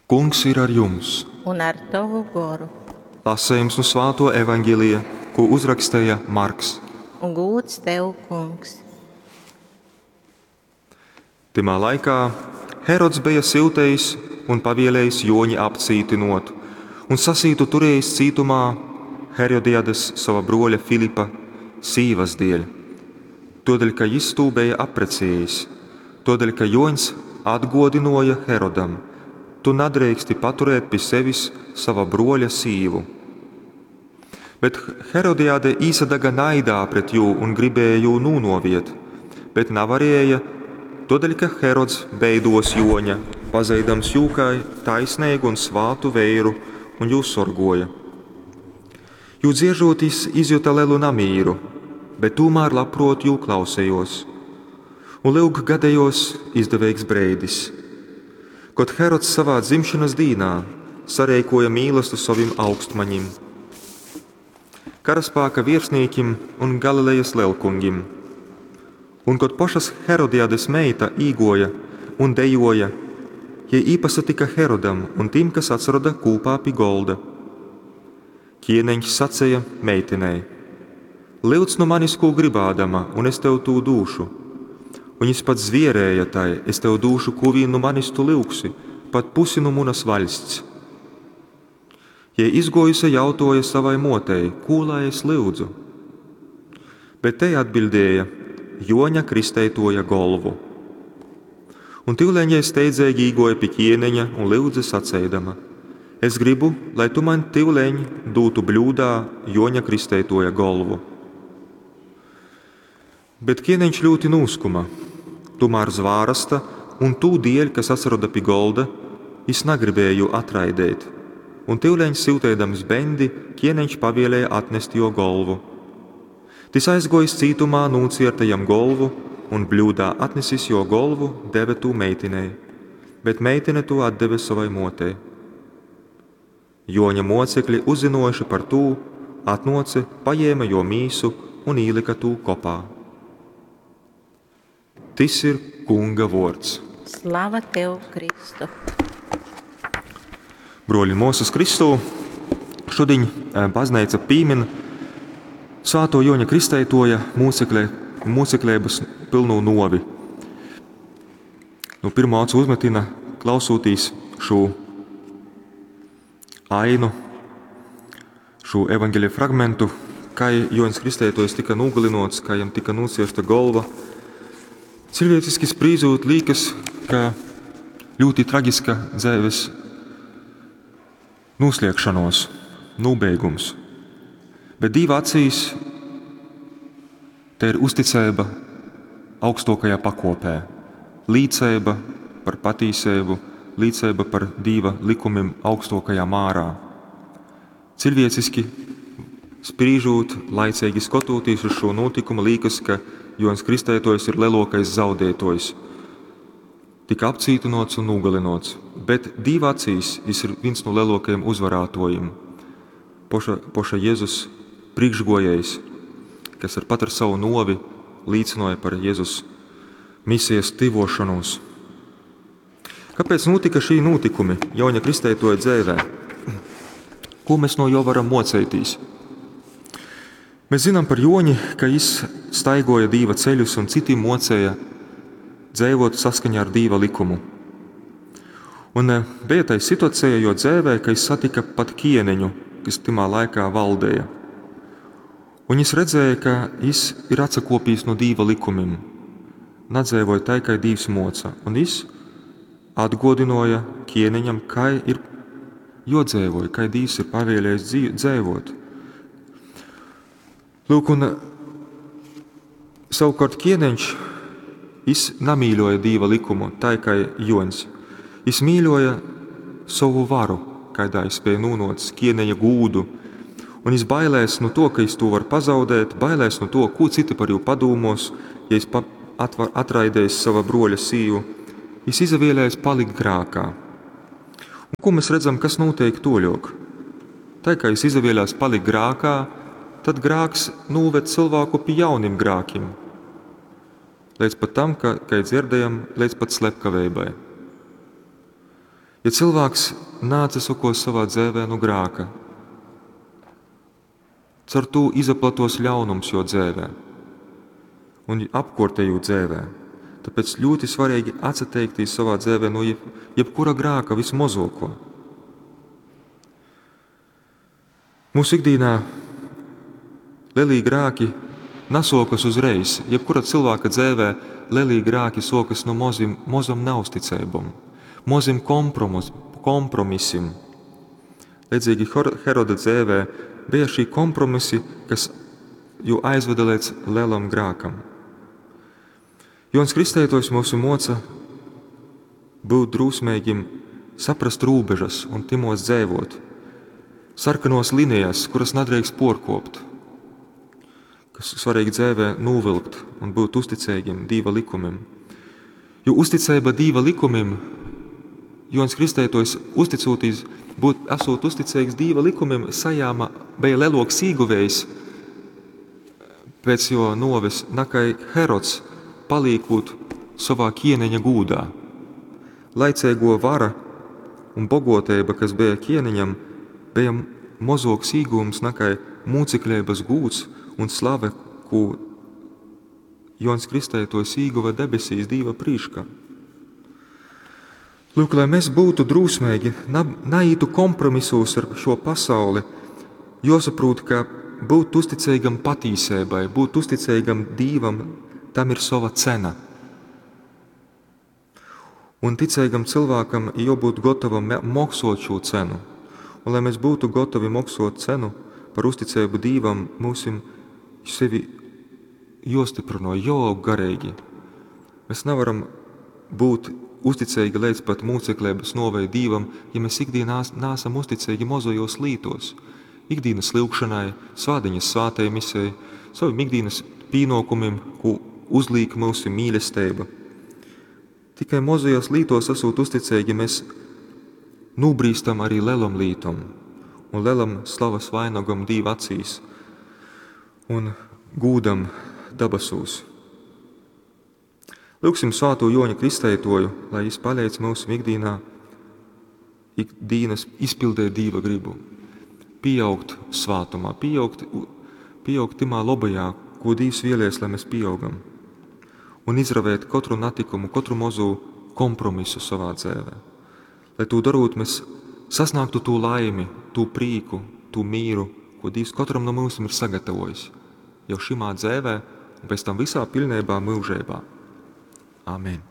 Kungs ir ar jums! Un ar tovu goru. Lasejums nu svātuo evaņgelija, kū uzraksteja Marks. Un gūds tev, Kungs. Tymā laikā Herods beja syutejis un pavielējis Jōņi apcītynōt, un sasītu turējis cītumā Herodiades, sova brōļa Filipa, sīvas dēļ, tōdēļ ka jys tū beja apprecējis, tōdēļ ka Jōņs atgōdynōja Herodam: Tu nadreiksti paturēt pi sevis sova brōļa sīvu. Bet Herodiade īsadaga naidā pret jū un gribēja jū nūnōvēt, bet navarēja, tōdēļ ka Herods beidōs Jōņa, pazeidams jū kai taisneigu un svātu veiru, un jū sorgōja. Jū dzieržot, jis izjuta lelu namīru, bet tūmār labprōt jū klausējōs. Un lyuk, gadējōs izdeveigs breidis, kod Herods savā dzimšonas dīnā sareikōja mīlastu sovim augstmaņim, karaspāka viersnīkim un Galilejas lelkungim. Un kod pošas Herodiades meita īgōja un dejōja, jei īpasatyka Herodam un tim, kas atsaroda kūpā pi golda. Kieneņš saceja meitinei: Lyudz nu manis, kū grybādama, un es tev tū dūšu. Un jis pat zvierēja tai: Es tev dūšu, kū vīn nu manis tu lyugsi, pat pusi nu munas vaļsts. Jei izgōjuse jautōja savai mōtei: Kū lai es lyudzu? Bet tei atbiļdēja: Jōņa Kristeitōja golvu. Un tyuleņ jei steidzeigi īgōja pi kieneņa un lyudze saceidama: Es grybu, lai tu maņ tyuleņ dūtu bļūdā Jōņa Kristeitōja golvu. Bet kieneņš ļūti nūskuma. Tūmār zvārasta un tū dieļ, kas atsaroda pi golda, jis nagribēja jū atraideit. Un tyuleņ syuteidams beņdi, kieneņš pavielēja atnest jō golvu. Tys aizgōjis cītumā nūcierta jam golvu un bļūdā atnesis jō golvu, deve tū meitinei, bet meitine tū atdeve sovai mōtei. Jōņa mōcekli, uzzynōjuši par tū, atnōce, pajēme jō mīsu un īlyka tū kopā. Tys ir Kunga vōrds. Slava tev, Kristu! Bruoļi un muosys Kristū, šudiņ bazneica pīmin Svātuo Juoņa Kristeituoja mūcekle, mūcekleibys pylnū nuovi. Nu pirmo acu uzmetina, klausūtīs šū ainu, šū evaņgeļa fragmentu, kai Juoņs Kristeituojs tika nūgalynuots, kai jam tika nūciersta golva. Ciļvieciski sprīžūt, līkas, ka ļoti tragiska dzeives nūsliegšanos, nūbeigums. Bet Dīva acīs te ir uzticeiba augstokajā pakopē, līceiba par patīseibu, līceiba par Dīva likumim augstokajā mārā. Ciļvieciski sprīžūt, laiceigi skotūtīs uz šo notikumu, līkas, ka Juoņs Kristeituojs ir lielākais zaudētojs. Tika apcītinots un nogalinots, bet Dīva acīs jis ir viens no lielākajiem uzvarātojiem. Poša, poša Jēzus priekšgojējs, kas ar pat ar savu novi līcināja par Jēzus misijas tyvošanos. Kāpēc notika šī notikumi Joņa Kristeitoja dzēvē? Ko mēs no jo varam mocētīs? Mēs zinām par Joņi, ka jis staigoja Dīva ceļus un citiem mocēja dzēvot saskaņā ar Dīva likumu. Un bija tai situācija, jo dzēvē, ka jis satika pat kieneņu, kas timā laikā valdēja. Un jis redzēja, ka jis ir atsakopījis no Dīva likumim, nadzēvoja tai, kai Dīvs moca. Un jis atgodināja kieneņam, kā ir jodzēvoja, kā Dīvs ir pavēlējis dzēvot. Lūk, un savukārt kieneņš, jis namīļoja Dīva likumu, tai kā Joņs. Jis mīļoja savu varu, kādā jis spēja nūnots kieneņa gūdu, un jis bailēs no to, ka jis to var pazaudēt, bailēs no to, ko citi par jū padūmos, ja jis atraidējis sava broļa sīvu. Jis izavēlējās palikt grākā. Un ko mēs redzam, kas notiek toļok? Tā kā jis izavēlējās palikt grākā, tad grāks nūved cilvēku pie jaunim grākim. Līdz pat tam, ka, kā dzirdējam, līdz pat slepkaveibai. Ja cilvēks naatsasokos savā dzēvē nu grāka, caur tū izaplatos ļaunums jo dzēvē un apkortēju dzēvē. Tāpēc ļoti svarīgi atsateikties savā dzēvē no jebkura grāka vismozoko. Mūsu ikdienā lielī grāki nesokas uzreiz. Jebkura cilvēka dzēvē lielī grāki sokas no mozim, mozam neusticībam, mozim kompromis, kompromisim. Līdzīgi Heroda dzēvē bija šī kompromisi, kas jū aizveda līdz lielam grākam. Jons Kristētojs mūsu moca būt drūsmīgim, saprast rūbežas un timos dzēvot, sarkanos linijas, kuras nedrīkst porkopt, kas svarīgi dzēvē novilkt un būt uzticīgiem Dīva likumim. Jo uzticība Dīva likumim, Jons Kristētojs uzticotīs, būt, esot uzticīgs Dīva likumim, sajāma bija leloks īguvējs pēc jo noves, nakai Herods palīkūt savā ķieneņa gūdā. Laicēgo vara un bogotēba, kas bija ķieneņam, bija mozoks īgūms nakai mūcekļības gūds un slave, ko Jons Kristētojs īguva debesīs Dīva prīškā. Lūk, lai mēs būtu drūsmīgi, naītu kompromisos ar šo pasauli, jāsaprot, ka būt uzticīgam patīsībai, būt uzticīgam Dīvam, tam ir sava cena. Un ticīgam cilvēkam jābūt gatavam maksot šo cenu. Un lai mēs būtu gatavi maksot cenu par uzticību Dīvam, mūsim sevi jāstiprino, jāaug garīgi. Mēs nevaram būt uzticīgi līdz pat mūceklības novei Dīvam, ja mēs ikdienā nāsam uzticīgi mozojos lītos. Ikdienas lūgšanai, svādiņas svātai misei, saviem ikdienas pīnokumiem, ko uzlīk mūsu mīlestība. Tikai mozajos lītos esot uzticīgi, mēs nūbrīstam arī lielam lītom un lielam slavas vainagam Dīva acīs un gūdam dabasūs. Lūksim svēto Joņa Kristētoju, lai viņš palīdz mūsu ikdienā, ikdienas izpildēt Dīva gribu, pieaugt svātumā, pieaugt, pieaugt timā labajā, ko Dīvs vēlies, lai mēs pieaugam, un izravēt katru natikumu, katru mazu kompromisu savā dzēvē. Lai to darot, mēs sasniegtu to laimi, to prīku, to mīru, ko Dievs katram no mums ir sagatavojis jau šimā dzēvē un pēc tam visā pilnībā mūžībā. Amen.